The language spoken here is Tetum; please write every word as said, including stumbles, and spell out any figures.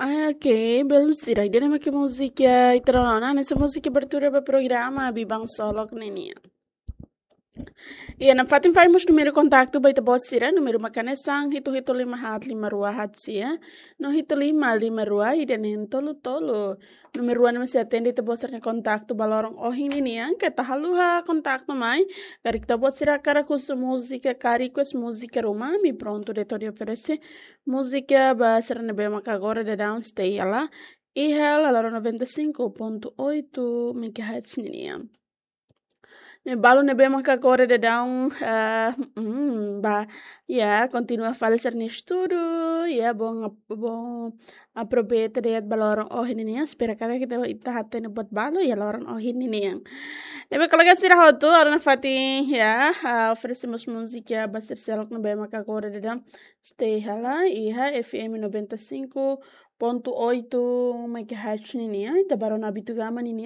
Ah, oke, belun sira. Ida-ne'e mak múzika ita rona ona, hanesan múzika abertura ba programa Biban Solok ninian. Iha nafatin fali mós númeru kontaktu ba ita-boot sira, númeru mak hanesan hitu hitu lima haat lima rua haat sia, no hitu lima lima rua ida neen tolu tolu. Númeru rua ne'e mak sei atende ita-boot sira-nia kontaktu ba loron ohin ninian, keta haluha kontaktu mai. Karik ita-boot sira hakarak husu múzika, ka request múzika ruma, ami prontu de'it hodi oferese múzika ba sira ne'ebé mak agora daudaun stay hela iha lalaron noventa e cinco ponto oito megahertz ninian. Ne'e balu ne'ebé mak agora daudaun, ah, mm, ba, ya, kontinua fali sira-nia estudu, ya, bom, bom aproveita de'it ba loron ohin ninian, espera katak ita, ita hatene buat balu iha loron ohin ninian. Ne'ebé kolega sira hotu, agora nafatin, ya, ah, oferese mós múzika ba sira seluk ne'ebé mak agora daudaun stay hela iha F M noventa e cinco ponto oito megahertz ninian, ita bá rona Abitugama ninian.